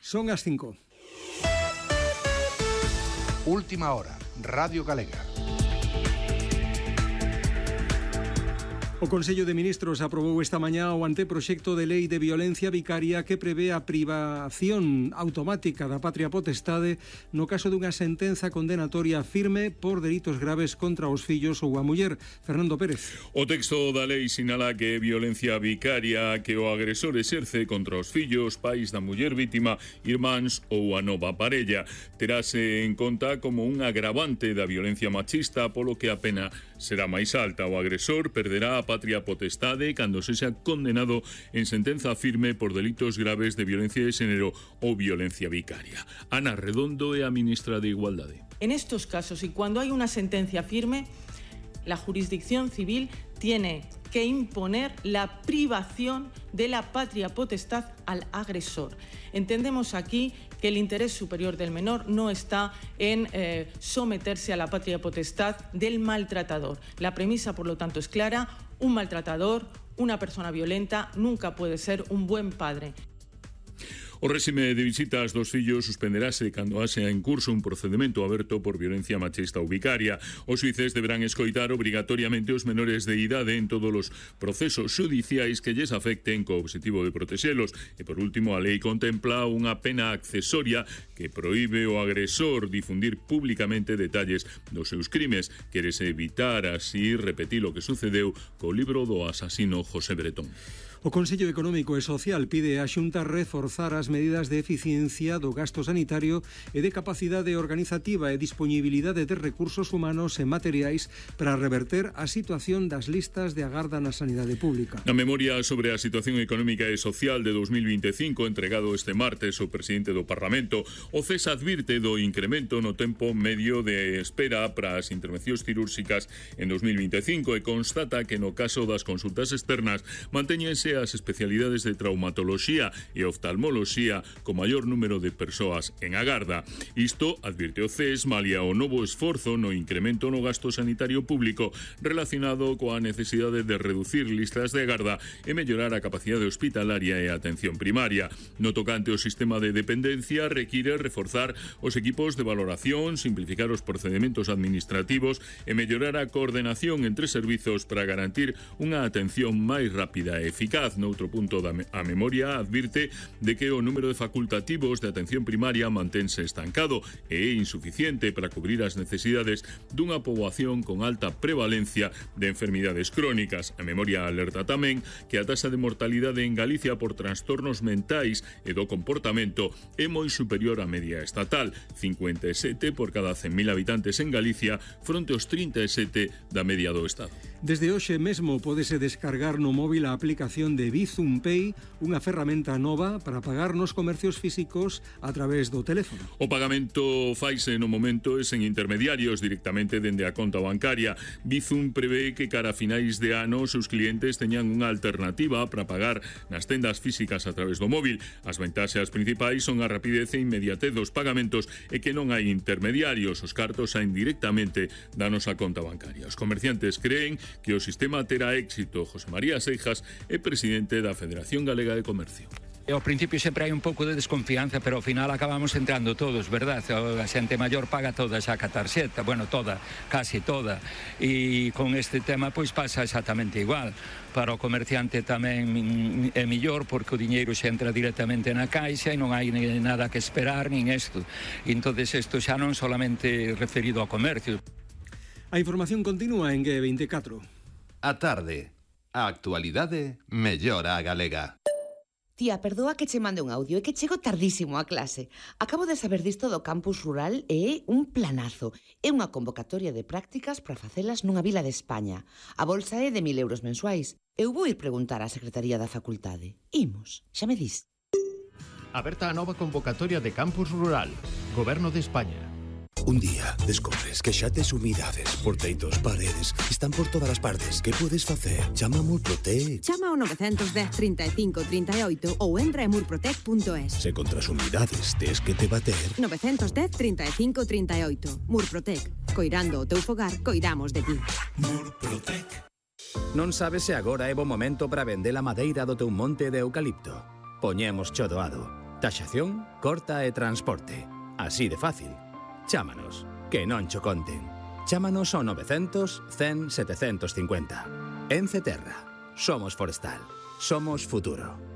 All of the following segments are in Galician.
Son as 5. Última hora, Radio Galega. O Consello de Ministros aprobou esta mañá o anteproxecto de lei de violencia vicaria que prevé a privación automática da patria potestade no caso dunha sentenza condenatoria firme por delitos graves contra os fillos ou a muller. Fernando Pérez. O texto da lei sinala que é violencia vicaria que o agresor exerce contra os fillos, pais da muller vítima, irmáns ou a nova parella. Terase en conta como un agravante da violencia machista, polo que a pena será máis alta. O agresor perderá a patria potestade cando sexa condenado en sentenza firme por delitos graves de violencia de xénero ou violencia vicaria. Ana Redondo é a ministra de Igualdade. En estos casos y cuando hay una sentencia firme, la jurisdicción civil tiene que imponer la privación de la patria potestad al agresor. Entendemos aquí que el interés superior del menor no está en someterse a la patria potestad del maltratador. La premisa, por lo tanto, es clara: un maltratador, una persona violenta, nunca puede ser un buen padre. O réxime de visitas dos fillos suspenderase cando haxa en curso un procedemento aberto por violencia machista ou vicaria. Os xuíces deberán escoitar obrigatoriamente os menores de idade en todos os procesos xudiciais que lles afecten co obxectivo de protexelos. E por último, a lei contempla unha pena accesoria que proíbe ao agresor difundir públicamente detalles dos seus crimes. Quérese evitar así repetir o que sucedeu co libro do asasino José Bretón. O Consello Económico e Social pide á Xunta reforzar as medidas de eficiencia do gasto sanitario e de capacidade organizativa e disponibilidade de recursos humanos e materiais para reverter a situación das listas de agarda na sanidade pública. Na memoria sobre a situación económica e social de 2025 entregado este martes o presidente do Parlamento, o CES advirte do incremento no tempo medio de espera para as intervencións cirúrxicas en 2025 e constata que no caso das consultas externas mantéñense as especialidades de traumatoloxía e oftalmoloxía co maior número de persoas en agarda. Isto, advirte o CES, malia o novo esforzo no incremento no gasto sanitario público relacionado coa necesidade de reducir listas de agarda e mellorar a capacidade hospitalaria e a atención primaria. No tocante ao sistema de dependencia, require reforzar os equipos de valoración, simplificar os procedementos administrativos e mellorar a coordenación entre servizos para garantir unha atención máis rápida e eficaz. Noutro punto a memoria advirte de que o número de facultativos de atención primaria mantense estancado e é insuficiente para cubrir as necesidades dunha poboación con alta prevalencia de enfermidades crónicas. A memoria alerta tamén que a taxa de mortalidade en Galicia por trastornos mentais e do comportamento é moi superior á media estatal, 57 por cada 100.000 habitantes en Galicia fronte aos 37 da media do Estado. Desde hoxe mesmo pódese descargar no móvil a aplicación de Bizum Pay, unha ferramenta nova para pagar nos comercios físicos a través do teléfono. O pagamento faise no momento e sen intermediarios directamente dende a conta bancaria. Bizum prevé que cara a finais de ano os seus clientes teñan unha alternativa para pagar nas tendas físicas a través do móvil. As ventaxas principais son a rapidez e inmediatez dos pagamentos e que non hai intermediarios. Os cartos saen directamente da nosa conta bancaria. Os comerciantes creen que o sistema terá éxito. José María Seijas é presidente da Federación Galega de Comercio. Ao principio sempre hai un pouco de desconfianza, pero ao final acabamos entrando todos, verdad? A xente maior paga toda xa ca tarxeta, bueno, toda, casi toda. E con este tema pois pasa exactamente igual. Para o comerciante tamén é mellor porque o diñeiro xa entra directamente na caixa e non hai nada que esperar nin isto. E entonces isto xa non solamente referido ao comercio. A información continúa en G24. A tarde. A actualidade mellora a galega. Tía, perdoa que che mande un audio, é que chego tardísimo a clase. Acabo de saber disto do campus rural e é un planazo. É unha convocatoria de prácticas para facelas nunha vila de España. A bolsa é de 1.000 euros mensuais. Eu vou ir preguntar á Secretaría da Facultade. Imos, xa me dis. Aberta a nova convocatoria de campus rural. Goberno de España. Un día descobres que xa tes humidades por teitos, paredes, están por todas as partes. Que podes facer? Chama a Murprotec. Chama ao 910 35 38 ou entra en murprotec.es. Se contra as humidades tes que te bater. 910 35 38. Murprotec. Coirando o teu fogar, coidamos de ti. Murprotec. Non sabes se agora é bo momento para vender a madeira do teu monte de eucalipto. Poñemos cho doado. Taxación, corta e transporte. Así de fácil. Chámanos, que non cho conten. Chámanos ao 900 100 750. Ence Terra. Somos forestal. Somos futuro.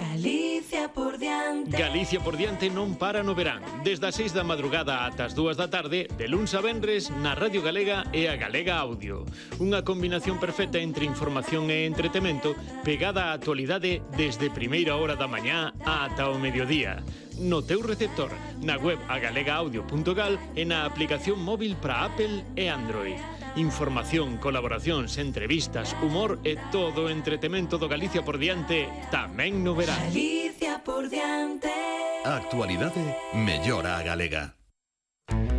Galicia por diante. Galicia por diante non para no verán. Desde as 6 da madrugada ata as 2 da tarde, de luns a venres, na Radio Galega e a Galega Audio. Unha combinación perfecta entre información e entretemento, pegada á actualidade desde primeira hora da mañá ata o mediodía. No teu receptor, na web agalegaudio.gal e na aplicación móvil para Apple e Android. Información, colaboracións, entrevistas, humor e todo o entretemento do Galicia por diante tamén no verán. Galicia por diante. A actualidade mellora a galega.